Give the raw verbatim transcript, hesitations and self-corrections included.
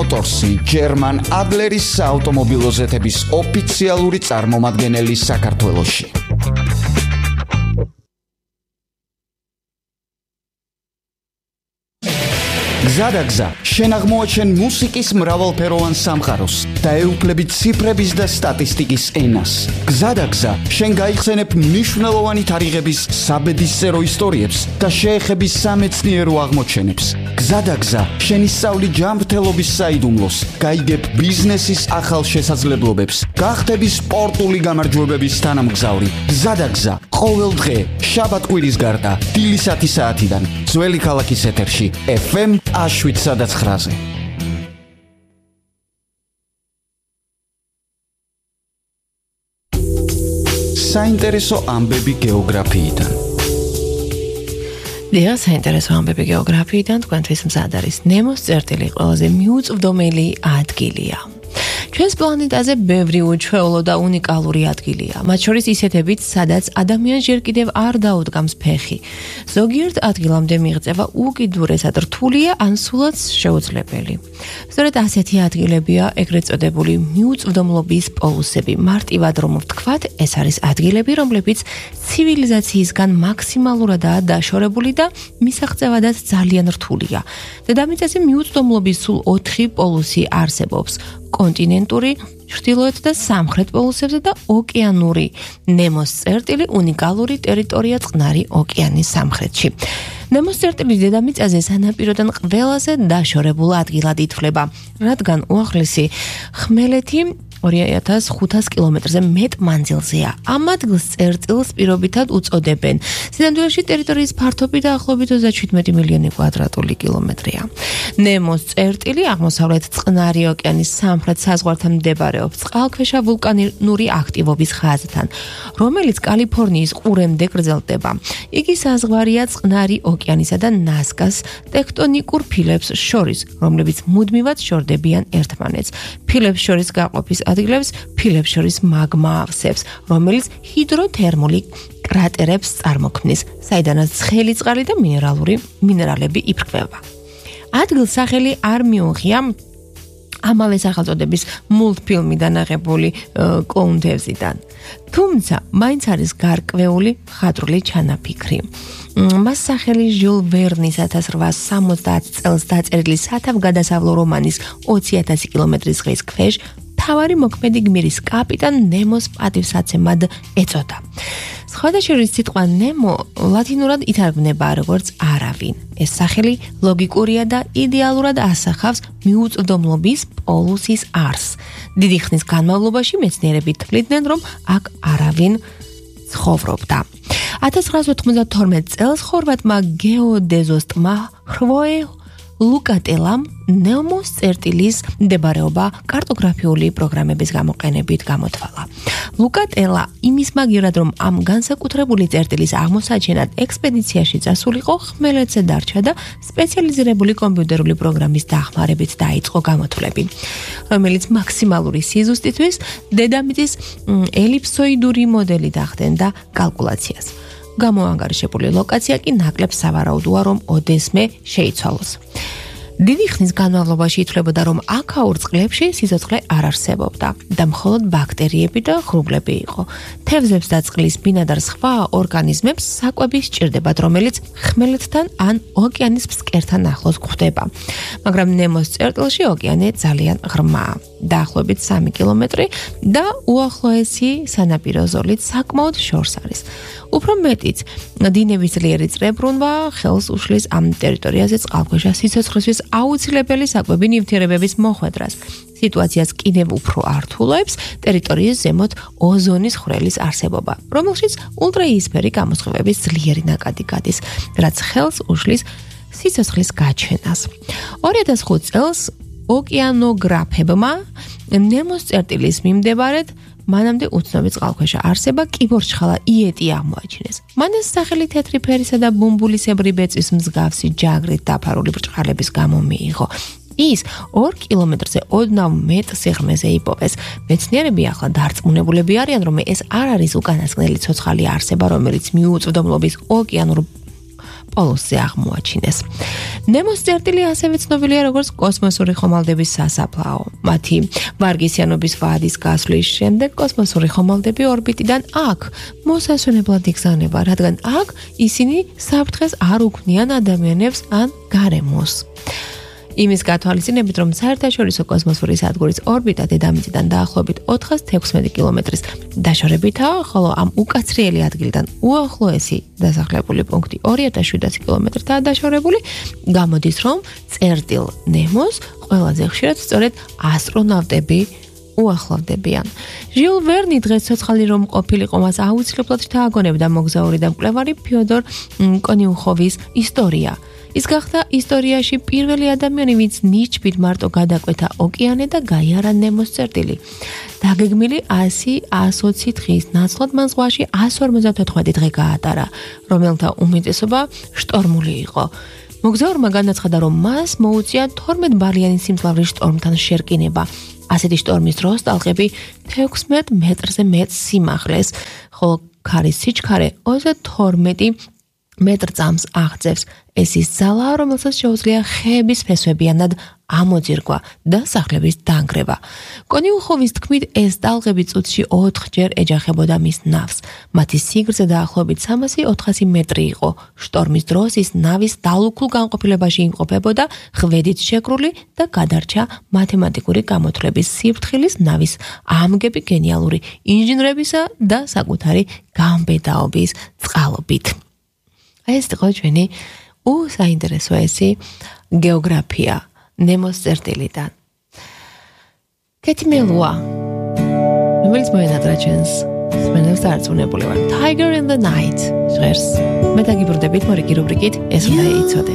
Motorsi German Adleris ავტომობილოზეთების ოფიციალური წარმომადგენელი საქართველოში. გზადაგზა, შენ აღმოაჩენ მუსიკის მრავალფეროვან სამყაროს და ეუფლები ციფრების და სტატისტიკის ენას. გზადაგზა, შენ გაიხსენებ მნიშვნელოვანი თარიღების საბედისწერო ისტორიებს და შეეხები სამეცნიერო აღმოჩენებს. გზადაგზა, შენ ისწავლი ჯანმრთელობის საიდუმლოს, გაიგებ ბიზნესის ახალ შესაძლებლობებს, გახდები სპორტული გამარჯვებების თანამგზავრი. გზადაგზა, ყოველ დღე, შაბათ-კვირის გარდა, დილის ათი საათიდან, ძველი ქალაქის ეთერში, ეფ ემ შვიდსა და ცხრაზე. საინტერესო ამბები გეოგრაფიიდან. დიახ, საინტერესო ამბები გეოგრაფიიდან თქვენთვის მზად არის ნემოს წერტილი ყველაზე მიუწვდომელი ადგილია. ჩვენს პლანეტაზე ბევრი უჩვეულო და უნიკალური ადგილია, მათ შორის ისეთებიც, სადაც ადამიანს ჯერ კიდევ არ დაუდგამს ფეხი. ზოგიერთ ადგილამდე მიღწევა უკიდურესად რთულია ან სულაც შეუძლებელი. სწორედ ასეთი ადგილებია ეგრეთ წოდებული მიუწვდომლობის პოლუსები. მარტივად რომ ვთქვათ, ეს არის ადგილები, რომლებიც ცივილიზაციისგან მაქსიმალურადაა დაშორებული და მისაღწევადაც ძალიან რთულია. დედამიწაზე მიუწვდომლობის სულ ოთხი პოლუსი არსებობს. კონტინენტური, ჩრდილოეთ და სამხრეთ პოლუსებზე და ოკეანური. ნემოს წერტილი უნიკალური ტერიტორია წყნარი ოკეანის სამხრეთში. ნემოს წერტილი დედამიწაზე სანაპიროდან ყველაზე დაშორებულ ადგილად ითვლება, რადგან უახლესი ხმელეთი ორი ათას ხუთას კილომეტრზე მეტ მანძილზეა. ამ ადგილს წერტილს პირობითად უწოდებენ. სინამდვილეში ტერიტორიის ფართობი დაახლოებით ოცდაშვიდმეტი მილიონი კვადრატული კილომეტრია. ნემოს წერტილი აღმოსავლეთ წყნარი ოკეანის სამხრეთ საზღვართან მდებარეობს, წყალქვეშა ვულკანური აქტივობის ხაზთან, რომელიც კალიფორნიის ყურემდე გრძელდება. იგი საზღვარია წყნარი ოკეანისა და ნასკას ტექტონიკურ ფილებს შორის, რომლებიც მუდმივად შორდებიან ერთმანეთს. ფილებს შორის გაყოფის ადგილებს ფილებს შორის მაგმა ავსებს, რომელიც ჰიდროთერმული კრატერებს წარმოქმნის, საიდანაც ცხელი წყალი და მინერალური მინერალები იფრქვევა. ადგილს სახელი არ მიუღია ამავე სახელწოდების მულტფილმიდან აღებული კლოუნთევზიდან. თუმცა, მაინც არის გარკვეული მხატვრული ჩანაფიქრი. მას სახელი ჟიულ ვერნის ათას რვაასი სამოცდაათ წელს დაწერილი სათავგადასავლო რომანის ოცი ათასი კილომეტრის ზღვის ქვეშ თავარი მოქმედი გმირის კაპიტან ნემოს პატივსაცემად ეწოდა. სხვადასხვა სიტყვა ნემო ლათინურად ითარგმნება როგორც არავინ. ეს სახელი ლოგიკურია და იდეალურად ასახავს მიუწვდომლობის პოლუსის არსს. დიდი ხნის განმავლობაში მეცნიერები თვლიდნენ, რომ აქ არავინ ცხოვრობდა. ათას ცხრაასი ოთხმოცდათორმეტ წელს ხორვატმა გეოდეზისტმა ხვოე ლუკატელამ ნემოს წერტილის მდებარეობა კარტოგრაფიული პროგრამების გამოყენებით გამოთვალა. ლუკატელა იმის მაგივრად, რომ ამ განსაკუთრებული წერტილის აღმოსაჩენად ექსპედიციაში წასულიყო, ხმელეთზე დარჩა და სპეციალიზირებული კომპიუტერული პროგრამის დახმარებით დაიწყო გამოთვლები, რომელიც მაქსიმალური სიზუსტისთვის დედამიწის ელიფსოიდური მოდელით ახდენდა კალკულაციას. გამოანგარიშებული ლოკაცია კი ნაკლებ სავარაუდოა, რომ ოდესმე შეიცვალოს. დიდი ხნის განმავლობაში ითვლებოდა, რომ აქაურ წყლებში სიცოცხლე არ არსებობდა და მხოლოდ ბაქტერიები და ღრუბლები იყო. თევზებს და წყლის ბინადარ სხვა ორგანიზმებს საკვები სჭირდებათ, რომელიც ხმელეთთან ან ოკეანის ფსკერთან ახლოს გვხვდება. მაგრამ ნემოს წერტილში ოკეანე ძალიან ღრმაა, დაახლოებით სამი კილომეტრი და უახლოესი სანაპირო ზოლით საკმაოდ შორს არის. უფრო მეტიც, დინების ძლიერი წრებრუნვა ხელს უშლის ამ ტერიტორიაზე წყალქვეშა სიცოცხლისთვის აუცილებელი საკვები ნივთიერებების მოხვედრას. სიტუაციას კიდევ უფრო ართულებს ტერიტორიის ზემოთ ოზონის ხვრელის არსებობა, რომელშიც ულტრაიისფერი გამოსხივების ძლიერი ნაკადი გადის, რაც ხელს უშლის სიცოცხლის გაჩენას. ორი ათას ხუთი წელს ოკეანოგრაფებმა ნემოს წერტილის მიმდებარედ მანამდე უცნობი წყალქვეშა არსება კიბორჩხალა იეტი აღმოაჩინეს. მან ეს სახელი თეთრი ფერისა და ბუმბულისებრი ბეწვის მსგავსი ჯაგრით დაფარული ბრჭყალების გამო მიიღო. ის ორ კილომეტრზე ოდნავ მეტ სიღრმეზე იპოვეს. მეცნიერები ახლა დარწმუნებულები არიან, რომ ეს არ არის უკანასკნელი ცოცხალი არსება, რომელიც მიუწვდომლობის ოკეანურ პოლუსზე აღმოაჩინეს. ნემოს წერტილი ასევე ცნობილია როგორც კოსმოსური ხომალდების სასაფლაო. მათი ვარგისიანობის ვადის გასვლის შემდეგ კოსმოსური ხომალდები ორბიტიდან აქ მოსასვენებლად იგზავნება, რადგან აქ ისინი საფრთხეს არ უქმნიან ადამიანებს ან გარემოს. იმის გათვალისწინებით, რომ საერთაშორისო კოსმოსური სადგურის ორბიტა დედამიწიდან დაახლოებით ოთხას თექვსმეტი კილომეტრის დაშორებითაა, ხოლო ამ უკაცრიელი ადგილიდან უახლოესი დასახლებული პუნქტი ორი ათას შვიდასი კილომეტრთაა დაშორებული, გამოდის, რომ წერტილ ნემოს ყველაზე ხშირად სწორედ ასტრონავტები უახლოვდებიან. ჟიულ ვერნი დღეს ცოცხალი რომ ყოფილიყო, მას აუცილებლად შთააგონებდა მოგზაური და მკვლევარი ფიოდორ კონიუხოვის ისტორია. ის გახდა ისტორიაში პირველი ადამიანი, ვინც ნიჩბით მარტო გადაკვეთა ოკეანე და გაიარა ნემოს წერტილი. დაგეგმილი ასი ასს ოცი დღის ნაცვლად მან ზღვაში ასს ორმოცდათოთხმეტი დღე გაატარა, რომელთა უმეტესობა შტორმული იყო. მოგზაურმა განაცხადა, რომ მას მოუწია თორმეტ ბალიანი სიმძლავრის შტორმთან შერკინება. ასეთი შტორმის დროს ტალღები თექვსმეტ მეტრზე მეტ სიმაღლეს, ხოლო ქარის სიჩქარე ოცდათორმეტი მეტრ წამს აღწევს. ეს ის ძალაა, რომელსაც შეუძლია ხეების ფესვებიანად ამოძირგვა და სახლების დანგრევა. კონიუხოვის თქმით, ეს ტალღები წუთში ოთხჯერ ეჯახებოდა მის ნავს. მათი სიგრძე დაახლოებით სამასი ოთხასი მეტრი იყო. შტორმის დროს ის ნავის დალუქულ განყოფილებაში იმყოფებოდა, ხვედით შეკრული და გადარჩა მათემატიკური გამოთვლების სიფრთხილის, ნავის ამგები, გენიალური ინჟინრებისა და საკუთარი გამბედაობის წყალობით. ეს იყო ჩვენი უსაინტერესო ესი გეოგრაფია ნემოს წერტილიდან. კეთი მელუა, რომელიც მოენატრა ჩვენს სმენელს დარწმუნებული ვარ. Tiger in the Night ჟღერს. მე დაგიბრუნდებით მორიგი რუბრიკით, ეს უნდა იცოდე.